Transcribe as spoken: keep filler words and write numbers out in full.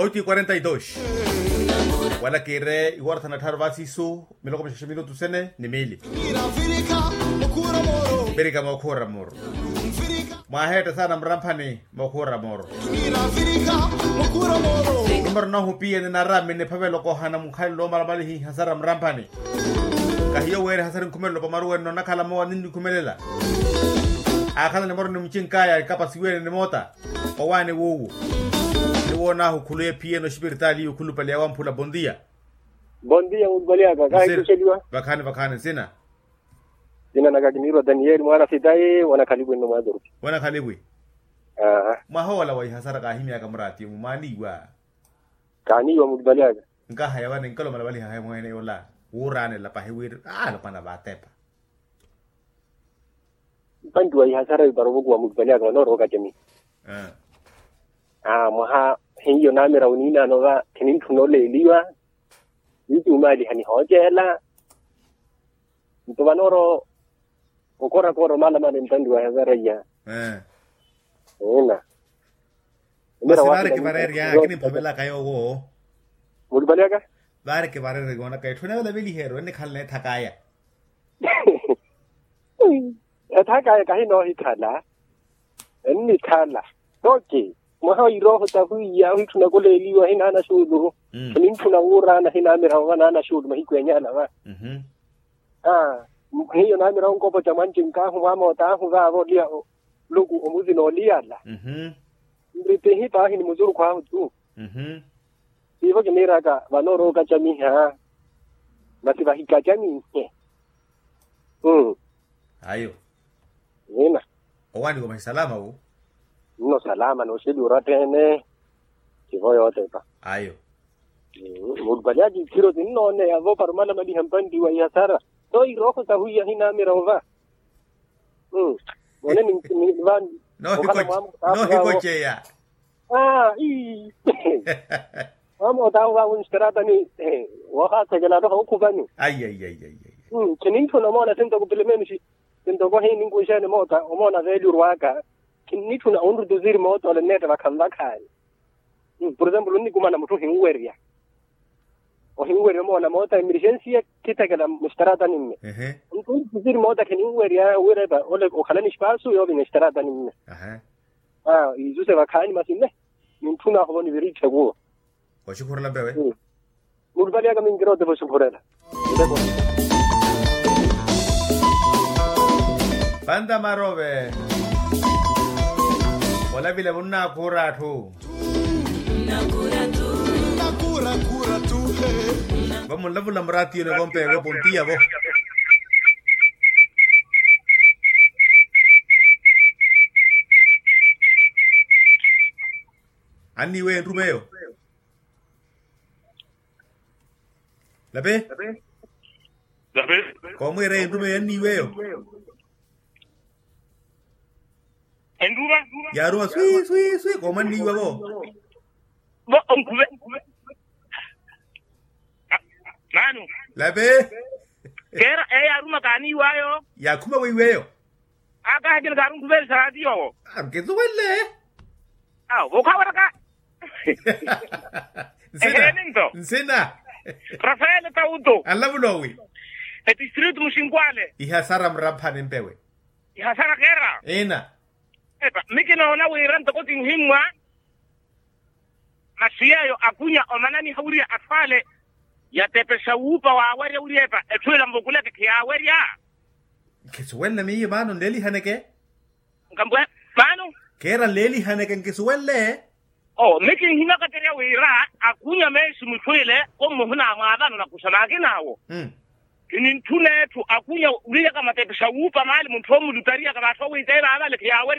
Oitu i quarenta y dos. Wala kiire iwora thana tthaaru vaasi isu miloko mixaxa minutu sene ni miili. Mvirika mookhuura mooro. Mwaheetta saana muramphani mookhuura mooro. Numero nahu piye ni narami ni phavelo koohana mukhalelo omalamalihi hasara muramphani. Kahiyo weeri hasara nkhumelelo pamaruwene nonakhala mowa ninnikhumelela. Aakhala ni moro ni mucinkaya ikapasiwene ni moota. Owaani wuuwu. Ni woonaahu khuluye phiyeno oxipiritaali iwe khulupale yawamphula bondia. Bondia mulupale aka kaahikuxeliwa. Vakhaani vakhaani nsina. Nsina naka kiniirwa danieli mwaana sitayi wanakhaliwi nno mwaaturupi. Wanakhaliwi. Mwaha ola wa ihasara kaahimyaka muraatiyo-mu mwaaniiwa. Kaaniiwa mulupale aka. Nkahaya vani nkalomalavaliha haya mweene yola wuuraanela pahi wiri alopwana vaatepa. Mpantu wa ihasara ipara ovokuwa mulupale aka vanoorowa okacamiha. Mwaha hiyo namira oniinaano va khinintthuna oleeliwa. Nituumaaliha nihooceela. Nto vanoorowa okorakora omalamala empantu wa ihasara iya. Eena. Masi vaari kivareerya kinimphavelaka yoowo. Mulupale aka. Vaari kivareerya yoonaka etthu enavela veliheru ennikhala neethakaya. Ethakaya kahinoohikhala. Ennikhala. Toki mwaha irooho tahwiya ohitthuna koleeliwa hinaana xuulu. Ninitthuna wuuraana hinaamira ova naana xuulu mahiku enyaana va. Hiyo naamira onkopoca mwanci nkaahu mwamootaahu vaavo oliya luku omuzina oliyala. Nritihi paahi ni muzurukhu ahu tu. Siivo kiniiraka vanoorowa okacamiha. Masi vahikacamihe. Ayo. Nina. Owaani komahi salama wu. Nno salama nooxeliwa orattheene. Tivo yootepa. Ayo. Mulupale aka ikhiro tinnooneya vo para omalamaliha mpanti wa ihasara. Tho irooho sahwiya hinaamira ova. Mone ni va. Noohikoceya. Aa ii. Mwamootaahu vaavo nxitaratani. Woohaathekela atoha okhupani. Khinintthuna omoona sintoko pilimeni sintoko hiininkuxeene moota omoona veelurwaka. Khinitthuna onrutuziri moota ole nneetta vakhanvakhaani. Por exemplo onnikumana mutthu ohinwerya. Ohinwerya omoona moota emergensiya khithekela muxitaratani mme. Onrutuziri moota khinwerya wira epa ole okhalani espasu yoovinya exitaratani mme. Isu se vakhaani masi mme. Nintthunaahu vo niviritthe kuwo. Oxukhurela mpewe. Mulupale aka minkiroote vo oxukhurela. Panta marove. Olavile vunnakhuura atthu. Vamunlavula muraatiyoni vompewe pontiya vo. Anniiweyo entrumeyo. Lape. Lape. Koomwiireya entrumeyo anniiweyo. Entruva. Yaaruma swi swi swi koomwanniiwa vo. Vo onkhuve. Mano. Lape. Keera eyo yaaruma kaaniiwayo. Yaakhuma weiweyo. Akaahekeni kaarunkhuveeli saatiyo. Ankisuwenle. Awo vokhaweraka. Eheeni nto. Nsina. Rafaele tauto. Anlavula owi. Etistritu muxinkwale. Ihasara muramphani mpewe. Ihasara keera. Ina. Epa mi kinoona wira ntoko tinhimmwa. Masi yeeyo akunya omananiha wiriya atwaale. Yatepexa wuupa waawerya wiriya epa etthu ila nvukuleke khiyaawerya. Nkisuwenle miyo maano nleelihaneke. Nkambwe. Maano. Keera nleelihaneke nkisuwenle. Oo mi kinhimakaterya wira akunya meesi mutthu ile. Kommuhuna mwaavano nakuxa maakin'awo. Kinintthuna etthu akunya wiyaka matepexa wuupa maali mutthu omulutariyaka vaatthu owiiteya vaavale khiyaawerya.